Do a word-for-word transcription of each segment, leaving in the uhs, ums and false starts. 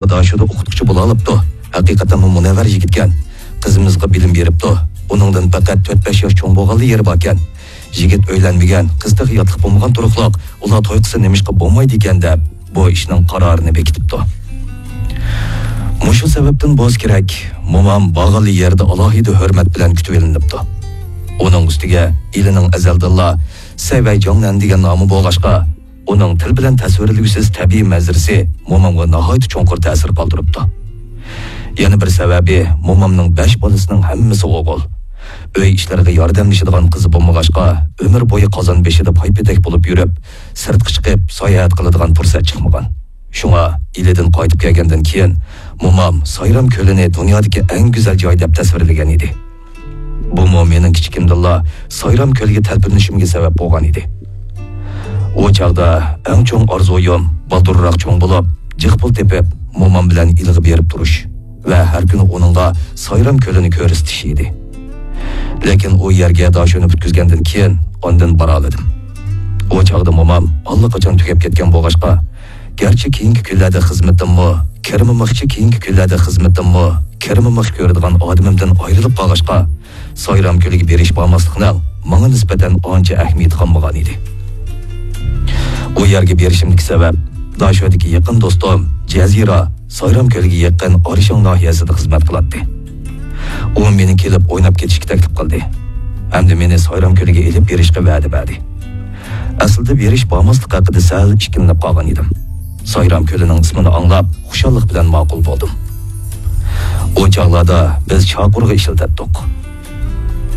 داشۆدە ئوقۇتقۇچى بولالاپتۇ. ھەقىقەتەنمۇ مۇنەۋۋەر يىگىتكەن. قىزىمىزغا بىلىم بېرىپتۇ. ئۇنىڭدىن پەقەت تۆت-بەش ياش چوڭ بولغانلا يېرى باركەن. يىگىت ئۆيلەنمىگەن، قىز تېخى ياتلىق بولمىغان تۇرۇقلۇق، ئۇلار توي قىلسا نېمىشقا بولمايدىكەن دەپ، بۇ ئىشنىڭ قارارىنى بېكىتىپتۇ. مۇشۇ سەۋەبتىن بولسا كېرەك، مومام بارغانلا يەردە ئالاھىدە ھۆرمەت بىلەن كۈتۈۋېلىنىپتۇ. ئۇنىڭ ئۈستىگە ئىلىنىڭ ئەزەلدىنلا سەيۋەي جاڭنەن دېگەن نامى بولغاچقا، ئۇنىڭ تىل بىلەن تەسۋىرلىگۈسىز تەبىئىي مەنزىرىسى مومامغا ناھايىتى چوڭقۇر تەسىر قالدۇرۇپتۇ. يەنە بىر سەۋەبى، مومامنىڭ بەش بالىسىنىڭ ھەممىسى ئوغۇل. ئۆي ئىشلىرىغا ياردەملىشىدىغان قىزى بولمىغاچقا، ئۆمۈر بويى قازان بېشىدا پايپېتەك بولۇپ يۈرۈپ، سىرتقا چىقىپ ساياھەت قىلىدىغان پۇرسەت چىقمىغان. شۇڭا ئىلىدىن قايتىپ كەلگەندىن كېيىن، مومام سايرام كۆلىنى دۇنيادىكى ئەڭ گۈزەل جاي دەپ تەسۋىرلىگەن ئىدى. بۇمۇ مېنىڭ كىچىكىمدىنلا سايرام كۆلىگە تەلپۈنۈشۈمگە سەۋەب بولغان ئىدى. ئۇ چاغدا ئەڭ چوڭ ئارزۇيۇم بالدۇرراق چوڭ بولۇپ، جىق پۇل تېپىپ، مومام بىلەن ئىلىغا بېرىپ تۇرۇش ۋە ھەر كۈنى ئۇنىڭغا سايرام كۆلىنى كۆرسىتىش ئىدى. لېكىن ئۇ يەرگە داشۆنى پۈتكۈزگەندىن كېيىن ئاندىن بارالىدىم. ئۇ چاغدا مومام ئاللىقاچان تۈگەپ كەتكەن بولغاچقا، گەرچە كېيىنكى كۈنلەردە خىزمىتىممۇ، كىرىمىمىخچە كېيىنكى كۈنلەردە خىزمىتىممۇ، كىرىمىمىخ كۆرىدىغان ئادىمىمدىن ئايرىلىپ قالغاچقا، سايرام كۆلىگە بېرىش بارماسلىقنىڭ ماڭا نىسبەتەن ئانچە ئەھمىيىتى قالمىغان ئىدى. ئۇ يەرگە بېرىشىمدىكى سەۋەب، داشۆدىكى يېقىن دوستۇم جەزىرە سايرام كۆلىگە يېقىن ئارىشاڭ ناھىيەسىدە خىزمەت قىلاتتى. ئۇ مېنى كېلىپ ئويناپ كېتىشكە تەكلىپ قىلدى ھەمدە مېنى سايرام كۆلىگە ئېلىپ بېرىشقا ۋەدە بەردى. ئەسلىدە بېرىش بارماسلىق ھەققىدە سەل ئىككىلىنىپ قالغان ئىدىم. سايرام كۆلىنىڭ ئىسمىنى ئاڭلاپ، خۇشاللىق بىلەن ماقۇل بولدۇم. ئۇ چاغلاردا بىز چاقۇرغا ئىشلىتەتتۇق.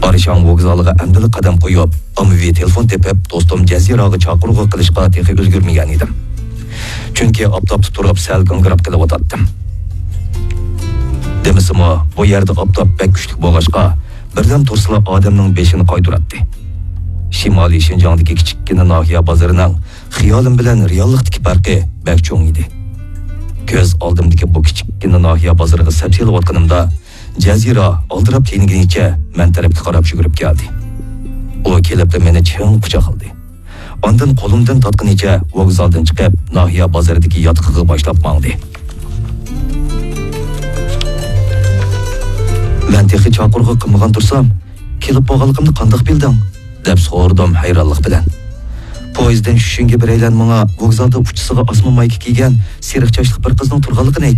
ئارىشاڭ ۋوگزالىغا ئەمدىلا قەدەم قويۇپ، ئاممىۋى تېلېفون تېپىپ، دوستۇم جەزىراغا چاقىرغۇ قىلىشقا تېخى ئۈلگۈرمىگەن ئىدىم. چۈنكى ئاپتاپتا تۇرۇپ سەل گاڭگىراپ قېلىۋاتاتتىم. دېمىسىمۇ، بۇ يەردە ئاپتاپ بەك كۈچلۈك بولغاچقا، بىردەم تۇرسىلا ئادەمنىڭ بېشىنى قايتۇراتتى. شىمالىي شىنجاڭدىكى كىچىككىنە ناھىيە بازىرىنىڭ خىيالىم بىلەن رېئاللىقتىكى پەرقى بەك چوڭ ئىدى. كۆز ئالدىمدىكى بۇ كىچىككىنە ناھىيە بازىرىغا سەپ سېلىۋاتقىنىمدا، جەزىرە ئالدىراپ تېنىگىنىچە مەن تەرەپكە قاراپ يۈگۈرۈپ كەلدى. ئۇ كېلىپلا مېنى چىڭ قۇچاقلىدى. ئاندىن قولۇمدىن تارتقىنىچە ۋوگزالدىن چىقىپ، ناھىيە بازىرىدىكى ياتىقىغا باشلاپ ماڭدى. مەن تېخى چاقىرغۇ قىلمىغان تۇرسام، كېلىپ بولغانلىقىمنى قانداق بىلدىڭ؟ دەپ سورىدىم ھەيرانلىق بىلەن. پويىزدىن چۈشۈشۈڭگە بىرەيلەن ماڭا ۋوگزالدا ئۇچىسىغا ئاسما مايكا كىيگەن سېرىق چاچلىق بىر قىزنىڭ تۇرغانلىقىنى ئېيتتى.